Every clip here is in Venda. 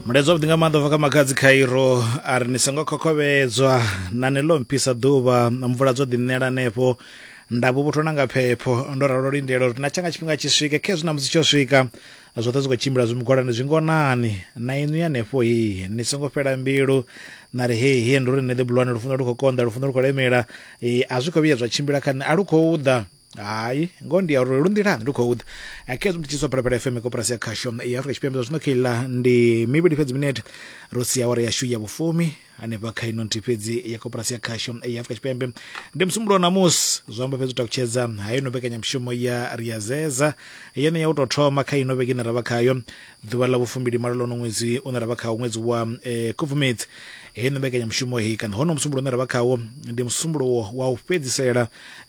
Mulaedza wavhuḓi nga maanḓa ubva kha Makhadzi Khairo a ri ni songo khokhovhedzwa na ni ḽo mphisa ḓuvha mvula dzo ḓi ṋela hanefho nda vhuvhuthwa na nga phepho ndo ralo lindela uri na tshanga tshifhinga tshi swike khezwi na musi tsho swika zwoṱhe zwi khou tshimbila zwi mugwalani zwi ngonani na inwi hanefho hi ni songo fhela mbilu na ri hei he ndi uri nṋe ḓi bulwane lufuno lu khou konḓa lufuno lu khou lemela a zwi khou vhuya zwa tshimbila kha nṋe a lu khou ḓa Hai, ngoho ndi ya uri lu nḓilani lu khou ḓa. Khezwi ndi tshi swa Phalaphala FM koporasi ya khasho ya Afrika Tshipembe zwa zwino kheiḽa ndi mivhili fhedzi minete ro sia awara yashu ya vhufumi hanefha kha ino nthihi fhedzi ya koporasi ya khasho ya Afrika Tshipembe. Ndi musumbulowo ṋamusi zwi amba fhedzi u takutshedza ha ino mbekanyamushumo ya Riazeza yene ya u tou thoma kha ino vhege ine ra vha khayo ḓuvha ḽa vhufumbili malo ḽono ṅwedzi une ra vha khawo ṅwedzi wa Khubvumedzi. Heino mbekanyamushumo heyi kana hono musumbulowo une ra vha khawo ndi musumbulowo wa u fhedzisela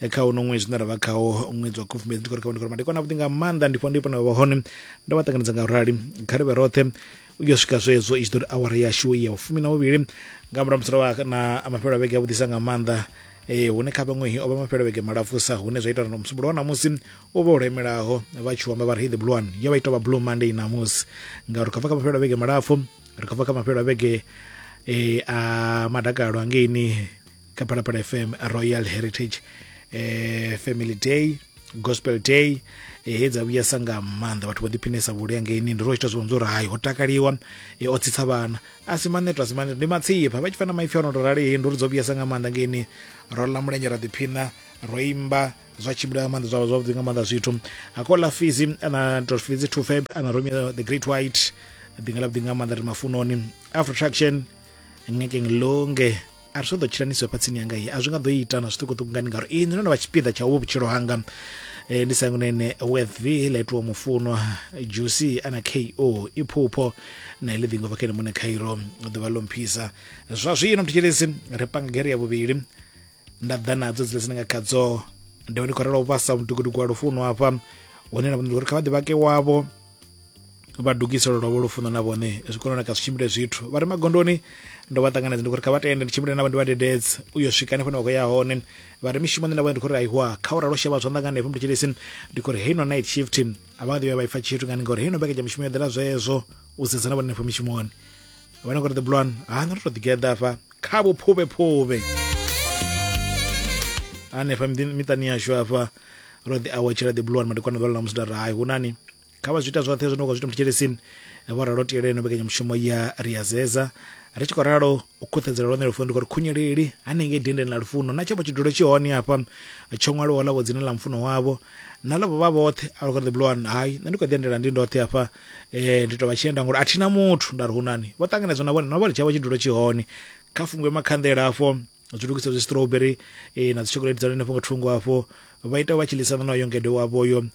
kha uno ṅwedzi une ra vha khawo ṅwedzi wa Khubvumedzi. Ndi khou ri kha ndi madekwana avhuḓi nga maanḓa ndi fho ndi vha hone ndo vha ṱanganedza nga rali kha ri vhe roṱhe u yo swika zwezwo i tshi ḓo ri awara yashu ya vhufumi na vhuvhili nga murahu musi ro vha na mafhelo a vhege avhuḓisa nga maanḓa hune kha vhaṅwe o vha mafhelo a vhege malapfusa hune zwa ita uri musumbulowo wa ṋamusi u vha u lemelaho vha tshi amba vha ri the blue one yo vha ita vha blue monday ṋamusi ngauri khou bva kha mafhelo a vhege malapfu ri khou bva kha mafhelo a vhege a madakalo angeini kha Phalaphala FM Royal Heritage Family Day Gospel Day he dza vhuyesa nga maanḓa vhathu vho ḓiphinesa vhule angeini ndi ro ita zwone uri hai ho takaliwa o tsitsa vhana a si maneto a si maneto ndi matsipha vha tshi fana maipfi ono to rali ndi uri dzo vhuyesa nga maanḓa ngeini ro ḽa mulenzhe ra ḓiphina ro imba zwa tshimbila nga maanḓa zwavha zwavhuḓi nga maanḓa zwithu akola fizi ana to fizi 2 feb ana Romeo the Great White ḓinga ḽa vhuḓi nga maanḓa ri mafunoni Afro Traction ngeke ngilonge a ri ḓo tshila ni fha tsini yanga iyi a zwi nga ḓo ita na zwiṱukuṱuku ngani ngauri inwi no no vha tshipiḓa tsha uvhu vhutshilo hanga ndi sangunene with v ḽa itiwa mufunwa juicy ana ko iphupho na iḽi ḓingo bva kha ene muṋe khairo ḓuvha ḽo mphisa zwa zwino mthetshelesi ri panga gere ya vhuvhili nda ḓa nadzo dzila dzine nga khadzo ndi ndi khou ralo u vhasa mudugudugu wa lufuno hafha hune na uri kha vha ḓivhake wavho vha dugise lwavho lufuno na vhone zwi kone u naka zwi tshimbile zwithu vha re magondoni ndo vha ṱanganedza ndi khori kha vha tende ndi tshimbile navho ndi vha dededze u yo swika hanefho hune vha khou ya hone vha re mishumoni na vhone ndi khori aiwa kha u ralo shevha zwanḓa nga hanefho mutshilisi ndi khori heino night shift a vha nga ḓi vhuya vha ipfa tshithu ngani ngori heino mbekanyamushumo yo ḓela zwezwo u sedza na vhone hanefho mishumoni vhone ngori the blue one ha nṋe ro to ḓigeḓa hafha kha vhuphuvhephuvhe hanefha miṱani yashu hafha ro ḓi awetshela the blue one madekwana ḓuvha ḽa ṋamusi nda ri hai hunani kha vha zwi ita zwoṱhe zwine vha khou zwi ita mthetshelesini vho ralo tiele ino mbekanyamushumo ya riazeza ri tshi khou ralo u khuṱhedzela lwone lufuno ndi khou ri khunyeleli hanengei dendeni ḽa lufuno na tshavho tshidulo tshi hone hafha tsho ṅwaliwaho ḽavho dzina ḽa mufuno wavho na ḽavho vha vhoṱhe a ri the blue one hai nṋe ndi khou ḓi endela ndi ndoṱhe hafha ndi tou vha tshienda ngori a thina muthu nda ri hunani vho ṱanganedzwa na vhone na vhone tshavho tshidulo tshi hone kha fungwe makhanḓela afho zwi lugisa zwi strawberry na dzi chocolate dza henefho nga thungo afho vha ita vha tshi ḽisana na yo ngede wavho yo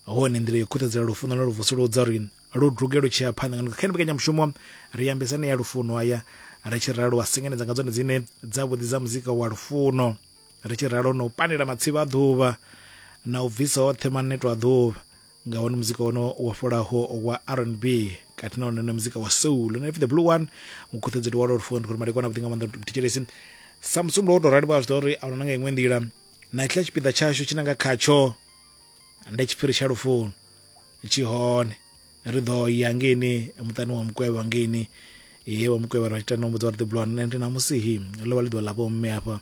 hone nḓila yo khuthadzela lufuno na lu vusuludza uri lu duge lu tshi ya phanḓa nga kha mbekanyamushumo ri ambesane ya lufuno aya ri tshi ralo wa sengenedza nga dzone dzine dzavhuḓi dza muzika wa lufuno ri tshi ralo na u panela matsivha a ḓuvha na u bvisa oṱhe maneto a ḓuvha nga wone muzika wono wa fholaho wa R&B kati na wone muzika wa soul na the blue one mukhuthedzeli wa lufuno ndi khori madekwana avhuḓi nga maanḓa thetshelesi sa musumbulo wo tou rali vha zwi ḓo uri a huna nga iṅwe nḓila na tshiḽa tshipiḓa tshashu tshi nanga khatsho ndi tshiphiri tsha lufuno tshi hone ri ḓo ya ngeini muṱani wa mukwevho ngeini he wa mukwevho ra tshi tenda mbudza uri the blue one ndi ṋamusi hi ḽo vha ḽi ḓuvha ḽa vhomme hafha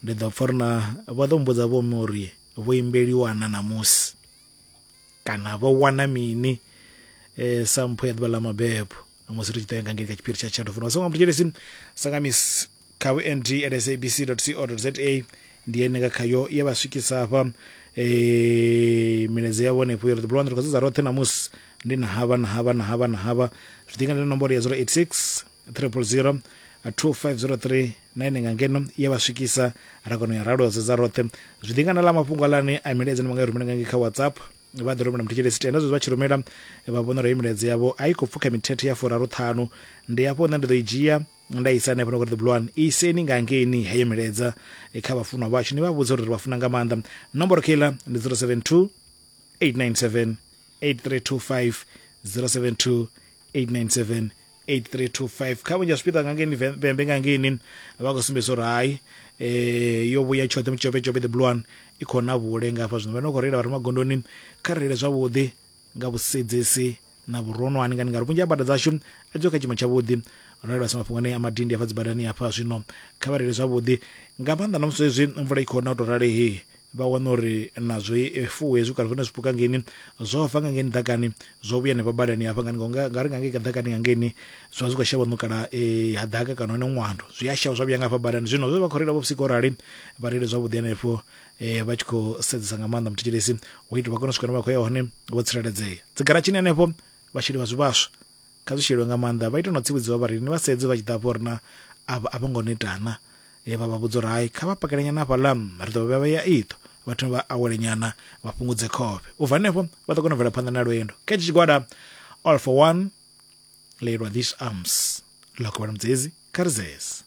ndi ḓo pfa uri na vha ḓo mbudza vhomme uri vho imbeliwa na ṋamusi kana vho wana mini sa mpho ya ḓuvha ḽa mabebo musi ri tshi ḓo ya nga ngei kha tshiphiri tsha tsha lufuno songo mthetshelesi sangamis kha vhund at sabc co za ndi ene nga khayo ye vha swikisa hafha milaedza ya vhone uri ḓi ri khou sedza roṱhe ṋamusi ndi na havha na havha na havha na havha zwi ḓi nga nomboro ya 086 000 2503 na ene nga ngeno ye vha swikisa ra kona u ya ralo sedza roṱhe zwi ḓi nga na ḽa mafhungo alani a milaedza ni vha nga i rumela nga ngei kha WhatsApp vha ḓi rumela muthetshelesi tenda zwezwi vha tshi rumela vha vhona uri heyi milaedza yavho a i khou pfukha mithethe ya furaru ṱhanu ndi hafho nṋe ndi ḓo i dzhia nda isa hanefho uri the blue one iseni nga ngeini heyo milaedza kha vhafunwa vhashu ni vha vhudze uri ri vha funa nga maanḓa nomboro keiḽa ndi 072 897 8325 072 897 8325 kha vhunzhi ha zwipiḓa nga ngeini vhembe nga ngeini vha khou sumbedzisa uri hai yo vhuya tshoṱhe mutshopetshope the blue one i khou na vhule nga hafha zwino vha no khou reila vha re magondoni kha reile zwavhuḓi nga vhusedzesi na vhuronwane ngani ngauri vhunzhi ha bada dzashu a dzo kha tshiimo tshavhuḓi. Ro lavhelesa mafhungo anea a madindi hafha dzibadani hafha zwino kha vha reile zwavhuḓi nga maanḓa na musi hezwi mvula i khou na u tou rali he vha wana uri na zwifuwo hezwi kana zwone zwipuka ngeini zwo fa nga ngeni ḓakani zwo vhuya hanefha badani hafha ngani nga ri nga ngei ḓakani nga ngeini zwa zwi khou shavha ṋukala eh, ha ḓaka kana hone ṅwando zwi a shavha zwa vhuya nga hafha badani. Zwino zwe vha khou reila vho vhusiku rali vha reile zwavhuḓi hanefho eh, vha tshi khou sedzesa nga maanḓa muthetshelesi u itela vha kone u swika hune vha khou ya hone vho tsireledzea. Dzigaratshini hanefho vhasheli vha zwivhaswa kha zwi sheliwe nga maanḓa vha ite no tsivhudziwa vhareili ni vha sedze vha tshi ḓa hafho uri na avha a vho ngo netana e vha vha vhudza uri hai kha vha pakele nyana hafhaḽa ri ḓo vha vhea iṱo vha thome vha awele nyana vha fhungudze khofhe u bva hanefho vha ḓo kona u bvela phanḓa na lwendo. Kha hetshi tshigwada All for One leilwa These Arms ḽa kovhela mudzedzi kha ri zese.